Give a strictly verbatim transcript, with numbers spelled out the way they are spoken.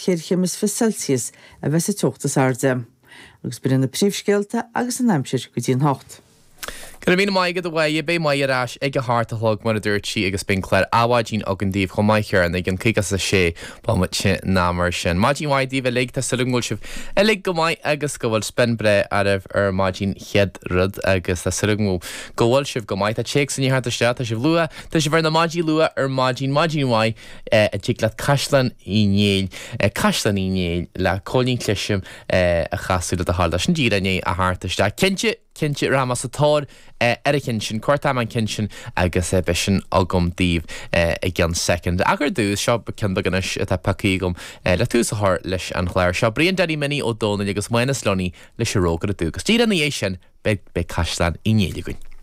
cheithre chéim is fiche Celsius a bheas an teocht is airde. Agus b'in na príomhscéalta agus an aimsir go dtí an hocht. Go raibh míle maith agat a Mháire, beidh Máire ar ais ag a hocht a chlog mar a dúirt sí agus beidh an clár Adhmhaidin againn daoibh chomh maith ar an ag an caoga is a sé bomaite ná mar sin. Maidin mhaith daoibh uilig, tá súil agam go bhfuil sibh uilig go maith agus go bhfuil spion breá oraibh ar maidin chéad rud agus tá súil agam go bhfuil sibh go maith. Tá téacs i ndiaidh theacht isteach, tá sibh luath, tá sibh ar na maidí luath ar maidin, maidin mhaith a dtig leat Caisleán Uí Néill, Caisleán Uí Néill le Cóilín Clisim a chasadh le do thoil. Tá sin díreach i ndiaidh a theacht isteach. Cinnte, cinnte rachaidh mé sa tóir ar an cheann sin, cuartóidh mé an ceann sin agus beidh sin agam daoibh i gceann soicind. Ach ar dtús, seo ceann beag anois atá pioctha agam le tús a chur leis an chlár seo. Brian Danny Minnie Ó Dónaill agus Mánas Lunny leis an Rógaire Dubh. Agus díreach ina dhiaidh sin, beidh beidh Caisleán Uí Néill againn.